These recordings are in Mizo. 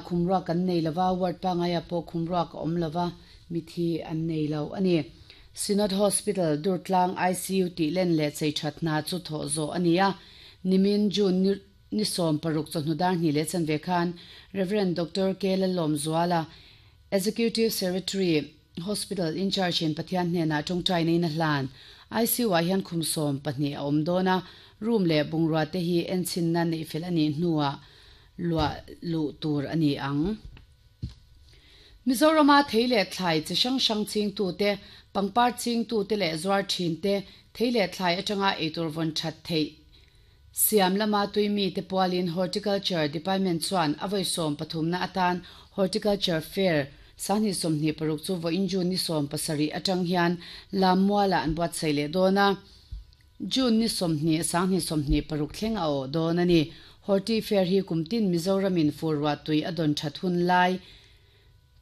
khum ruak an nei lova, ward pangaiah pawh khum ruak a awm lova, mithi an nei lo a ni. Synod Hospital, Durtlang ICU tih len leh chei that hna chu thawh zawh a ni a, nimin June ni ni 60 chawhnu dar hnih leh chanve khan Rev. Doctor K. Lalawmzuala, Executive Secretary, Hospital in-charge in Pathian hnenah tawngtai neiin a hlan. ICU ah hian khum 12 a awm dawn a, room leh bungrua te hi enchhinna neih fel a nih hnuah luah luh tur a ni ang. Mizorama thei leh thlai chi hrang hrang chingtute, pangpar chingtute leh zuar thinte thei leh thlai atanga eitur vawn that theih siam lama tui mite pualin Horticulture Department chuan a vawi 13na atan Horticulture Fair 2026 chu vawiin June ni 17 atang hian Lammualah an buatsaih leh dawn a. June ni 20, 2026 thleng a awh dawn a ni. Horti Fair hi kum tin Mizoramin fur ruah tui a dawn that hun lai,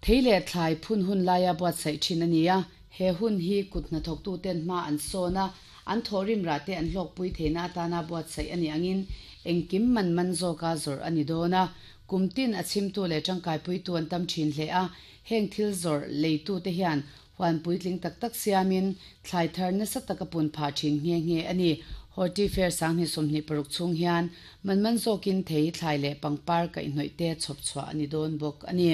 thei leh thlai phun hun laia buatsaih thin a ni a. He hun hi kut hnathawktuten hma an sawn a, an thawhrim rah te an hlawkpui theihna atana buatsaih a nih angin engkim man man zawka zawrh a ni dawn a. Kum tin a chhimtu leh tangkaipuitu an tam thin hle a, heng thil zawrh leitute hian Huan puitling tak tak siamin thlai thar nasa tak a pun phah thin nghe nghe a ni. Horti Fair 2026 chhung hian man man zawkin thei, thlai leh pangpar kaihhnawih te chhawp chhuah a ni dawn bawk a ni.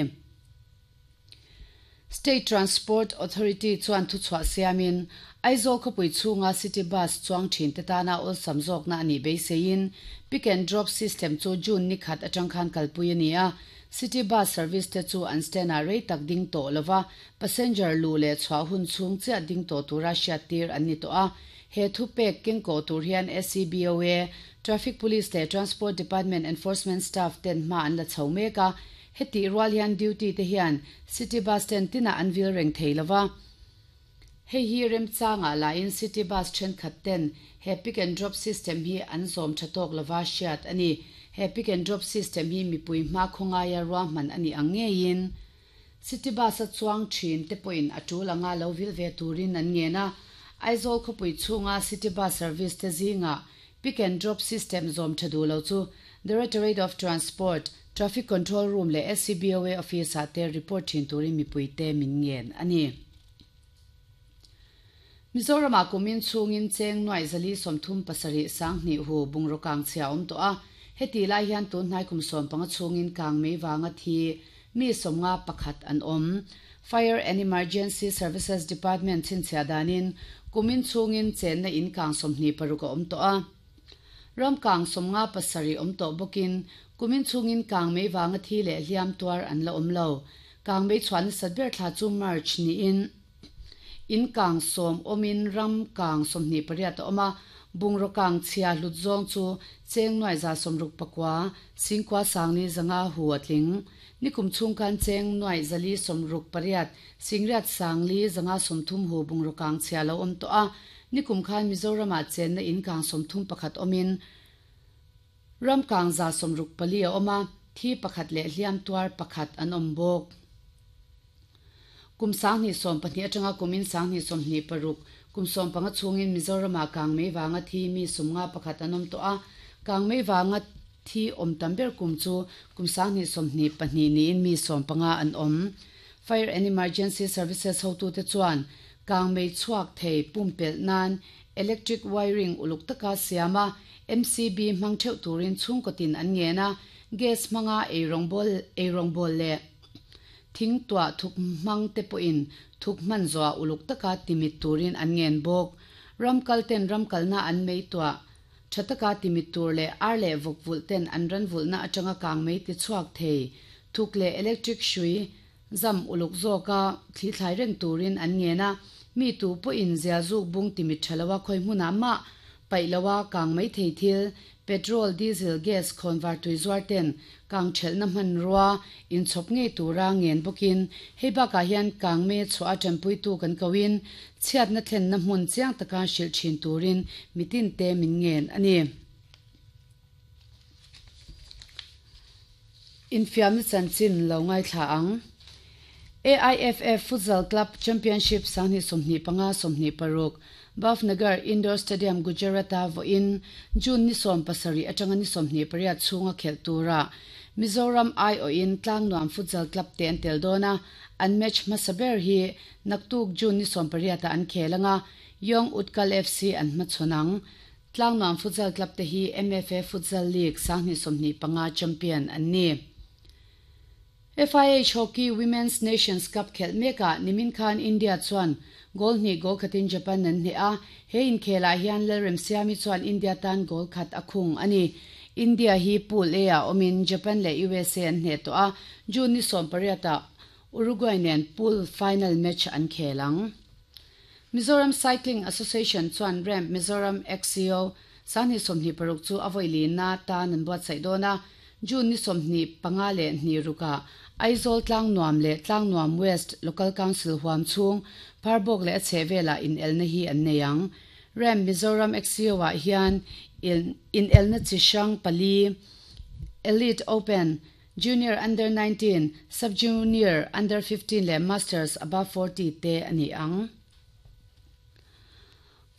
State Transport Authority chuan thuchhuah siamin Aizawl khawpui chhunga city bus chuang thin te tana awlsam zawkna a nih beiseiin pick and drop system chu June ni khat atang khan kalpui a ni a. City bus service te chu an stand ah rei tak ding tawh lova, Passenger luh leh chhuah hun chhung chiah ding tawh tura hriattir an ni tawh a. He thupek keng kawh tur hian SCBOA, Traffic Police leh Transport Department Enforcement Staff ten hma an la chho mek a. Hetih rual hian duty te hian City Bus stand tinah an vil reng thei lova. Hei hi remchangah lahin City Bus thenkhat ten he pick and drop system hi an zawm tha tawk lova hriat a ni. He pick and drop system hi mipui hma khawngaia ruahman a nih ang ngeiin City bus a chuang thin te pawhin a tul anga lo vil ve turin an ngen a. Aizawl khawpui chhunga city bus service te zingah pick and drop system zawm tha duh lo chu Directorate of Transport, Traffic Control Room leh SCBOA office ah te report thin turin mipuite min ngen a ni. Mizoramah kumin chhungin cheng nuaih 437 sanghnih hu bungraw kang chhia a awm tawh a, heti lai hian tun hnai kum 15 chhungin kang mei vanga thi mi 51 an awm. Fire and Emergency Services Department chhinchhiah danin kumin chhungin chenna in kang 26 a awm tawh a. Ram kang 57 awm tawh bawkin kumin chhungin kang mei vanga thi leh hliam tuar an la awm lo. Kang mei chhuah nasat ber thla chu March niin In kang 10 awmin ram kang 28 a awm a, bungraw kang chhia hlut zawng chu cheng nuaih 69, singkua sangli 500 hu a tling. Nikum chhung khan cheng nuaih 468, singriat sangli 530 hu bungraw kang chhia lo awm tawh a, nikum khan Mizoramah chenna in kang 31 awmin ram kang 64 a awm a, thi pakhat leh hliam tuar pakhat an awm bawk. Kum 2012 atanga kumin 2026, kum 15 chhungin Mizoramah kangmei vanga thi mi 51 an awm tawh a, kangmei vanga thi awm tam ber kum chu kum 2022 niin mi 15 an awm. Fire and Emergency Services hotute chuan kangmei chhuak thei pumpelh nan electric wiring uluk taka siam a, MCB hmang theuh turin chhungkaw tin an ngen a, gas hmanga eirawngbawl leh Thing tuah thuk hmang te pawhin thuk hman zawhah uluk taka timit turin an ngen bawk. Ram kal ten ram kalna an mei tuah tha taka timit tur leh ar leh vawk vulh ten an ran vulhna atanga kang mei ti chhuak thei thuk leh electric hrui zam uluk zawka thli thlai reng turin an ngen a. Mi tu pawhin zial zuk bung timit tha loa khawi hmunah mah paih loa kang mai thei thil Petrol, diesel, gas khawnvar tui zuar ten kang thelhna hmanrua inchhawp ngei tura ngen bawkin hei bakah hian kang me chhuah a tanpuitu kan koin chhiatna thlenna hmun chiang taka hrilh thin turin mitin te min ngen a ni. Infiamna chanchin lo ngaithla ang. AIFF Futsal Club Championship 2025 26 Bhavnagar Indoor Stadium Gujarat-a vawiin June ni 17 atanga ni 28 chhunga khelh tura. Mizoram aiawhin Tlangnuam Futsal Club te an tel dawn a, an match hmasa ber hi naktuk June ni sawmpariat ah an khel anga Young Utkal FC an hmachhawn ang. Tlangnuam Futsal Club te hi MFA Futsal League 2025 champion an ni. FIH Hockey Women's Nations Cup khelh mekah nimin khan India chuan goal hnih goal khatin Japan an hneh a, he inkhelah hian Lalremsiami chuan India tan goal khat a khung a ni. India hi Pool A ah awmin Japan leh usa an hneh tawh a, June ni 18 ah Uruguay nen pool final match an khel ang. Mizoram Cycling Association chuan Ramp Mizoram XCO 2026 chu a vawi lina tan an buatsaih dawn a, June ni 25 leh hnih rukah Aizawl Tlangnuam leh Tlangnuam West Local Council huam chhung Pharbawk leh a chhehvelah inelna hi an nei ang. Ramp Mizoram XCO-ah hian inelna chi hrang pali, Elite Open, Junior Under 19, Sub-Junior Under 15 leh Masters Above 40 te a ni ang.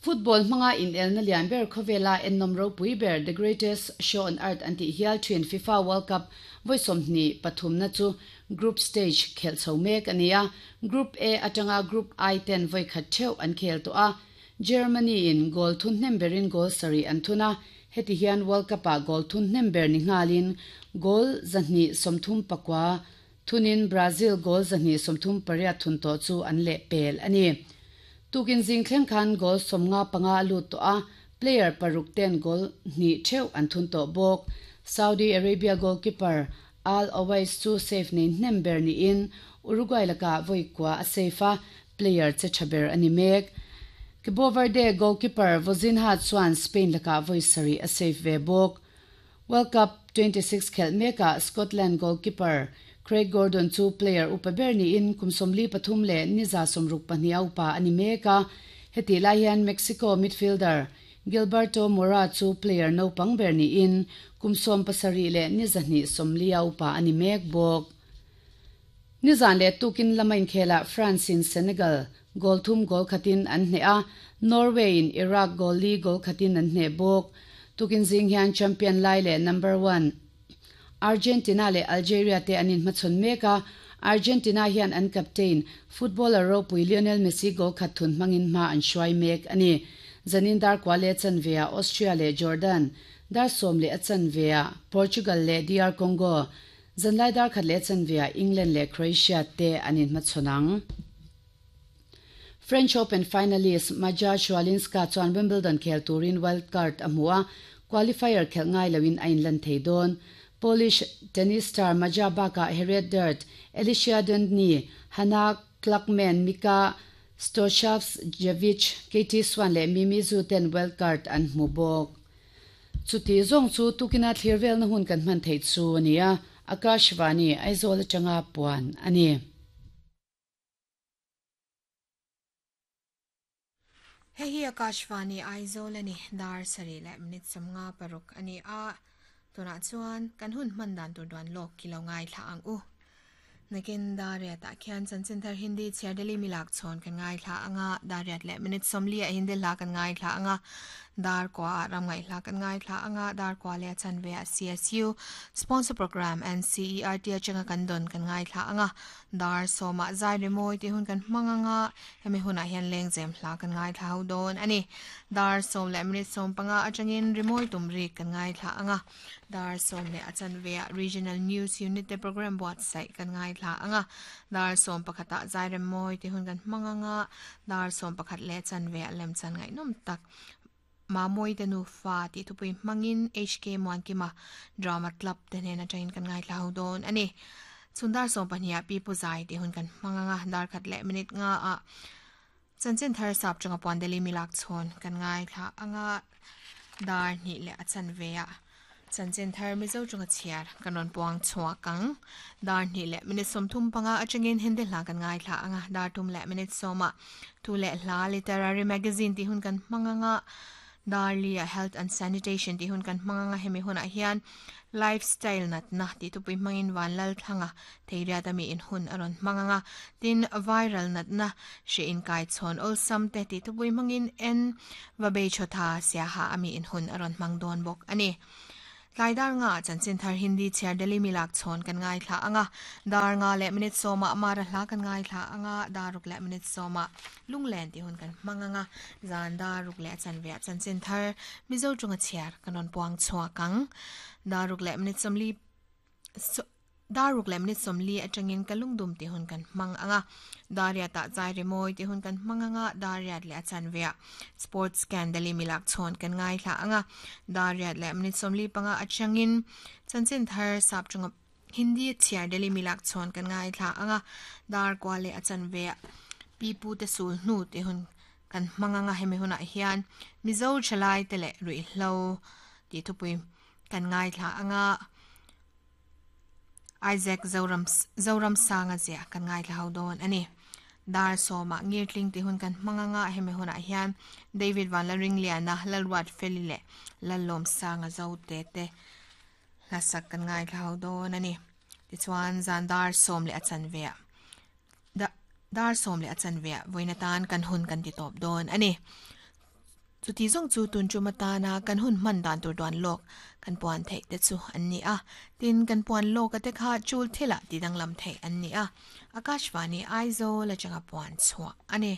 Football hmanga inelna lian ber khawvela ennawm ropui ber The Greatest Show on Earth an tih hial thin FIFA World Cup vawi sawmhnih pathumna chu Group Stage khelh chho mek a ni a, Group A atanga Group I ten vawi khat theuh an khel tawh a, Germany in goal thun hnem berin goal sarih an thun a, heti hian World Cup ah goal thun hnem ber ni nghalin goal 239 thunin Brazil goal 238 thun tawh chu an lehpel a ni. Tukin zing thleng khan goal 55 a lut tawh a, player paruk ten goal hnih theuh an thun tawh bawk. Saudi Arabia goalkeeper Al Owais chu save nei hnem ber niin Uruguay lakah vawi kua a save a, player che tha ber a ni mek. Cabo Verde goalkeeper Vozinha chuan Spain lakah vawi sarih a save ve bawk. World Cup 26 khelh mekah Scotland goalkeeper Craig Gordon chu player upa ber niin kum 43 leh ni 62 a upa a ni mek a. Hetih lai hian Mexico midfielder Gilberto Mora chu player naupang ber niin kum 70 leh ni 240 a upa a ni mek bawk. Nizan leh tukin lama inkhelah France in Senegal goal thum goal khatin an hneh a, Norway in Iraq goal li goal khatin an hneh bawk. Tukin zing hian champion lai leh number one Argentina leh Algeria te an inhmachhawn mek a, Argentina hian an captain, footballer ropui Lionel Messi goal khat thun hmangin hma an hruai mek a ni. Zanin dar kua leh chanveah Austria leh Jordan, dar sawm leh a chanveah Portugal leh DR Congo, Zanlai dar khat leh chanveah England leh Croatia te an inhmachhawn ang. French Open finalist Maja Chwalinska chuan Wimbledon khel turin wild card a hmu a, qualifier khelh ngai loin a inlan thei dawn. Polish tennis star Maja bakah Harriet Dart, Alicia Dundney, Hannah Klugman, Mika Stochavsjevic, Katie Swan leh Mimi Zhu ten wild card an hmu bawk. Chuti zawng chu tukina thlir velna hun kan hman theih chu a ni a, Akashvani, Aizawl atanga puan a ni. Hei hi Akashvani, Aizawl a ni. Dar sarih leh minute 56 a ni a, tunah chuan kan hun hman dan tur duan lawk ki lo ngaithla ang u. Nakin Dariat ah khian chanchin thar Hindi chhiar Delhi milak chhawn kan ngaithla anga, Dariat leh minute 40 ah Hindi hla kan ngaithla anga, Dar kua ah ram ngaihhla kan ngaithla anga, Dar kua leh a chanve ah CSU sponsor program NCERT atanga kan dawn kan ngaithla anga, Dar sawmah zai rimawi tih hun kan hmang anga, hemi hunah hian lengzem hla kan ngaithla ho dawn a ni. Dar sawm leh minute 15 atangin rimawi tum rik kan ngaithla anga, Dar sawm leh a chanveah Regional News Unit te program buatsaih kan ngaithla anga, Dar sawm pakhatah zai rimawi tih hun kan hmang anga, Dar sawm pakhat leh chanveah lemchan ngaihnawm tak Mamawite nufa tih thupui hmangin HK Muankima Drama Club te hnen atangin kan ngaithla ho dawn a ni. Chhun dar sawm pahnih ah Pi Pu Zai tih hun kan hmang anga, dar khat leh minute nga ah Chanchin thar sap chunga puan Delhi milak chhawn kan ngaithla anga, dar hnih leh a chanve ah Chanchin thar Mizo chunga chhiar kan rawn puang chhuak ang. Dar hnih leh minute 35 atangin Hindi hla kan ngaithla anga, dar tum leh minute sawmah thu leh hla literary magazine tih hun kan hmang anga, dar lia health and sanitation tih hun kan hmang anga, hemi hunah hian lifestyle natna tih thupui hmangin Vanlal Thlanga Theiriat ami in hun a rawn hmang anga, tin viral natna hre inkai chhawn awlsam te tih thupui hmangin en Vabei Chawtha Siaha ami in hun a rawn hmang dawn bawk a ni. Tlai dar nga ah chanchin thar Hindi chhiar Delhi mi lak chhawn kan ngaithla ang a, dar nga leh minute sawmah Mara hla kan ngaithla ang a, dar ruk leh minute sawmah Lunglen tih hun kan hmang ang a, zan dar ruk leh a chanve ah chanchin thar Mizo chunga chhiar kan rawn puang chhuak ang. Dar ruk leh minute sawmli Dar ruk leh minute 40 atangin ka lungdum tih hun kan hmang ang a, dar riat ah zai rimawi tih hun kan hmang ang a, dar riat leh a chanve ah sports scan Delhi milak chhawn kan ngaithla ang a, dar riat leh minute 45 atangin chanchin thar sap chunga Hindi chhiar Delhi milak chhawn kan ngaithla ang a, dar kua leh a chanve ah pi pu te sul hnu tih hun kan hmang ang a, hemi hunah hian Mizo thalai te leh ruihhlo tih thupui kan ngaithla ang a. Isaac Zoram Zoramsanga ziah kan ngaithla ho dawn a ni. Dar sawmah ngirtling tih hun kan hmang anga hemi hunah hian David Vanlaringliana, Lalruat Feli leh Lallawmsanga Zote te hlasak kan ngaithla ho dawn a ni. Tichuan zan dar sawm leh a chanveah dar sawm leh a chanveah vawiin atan kan hun kan ti tawp dawn a ni. Chuti zawng chu tun tum atana kan hun hman dan tur duan lawk kan puan theih te chu an ni a. Tin, kan puan lawka te kha chul thilah ti danglam theih an ni a. Akashvani Aizawl atanga puan chhuah a ni.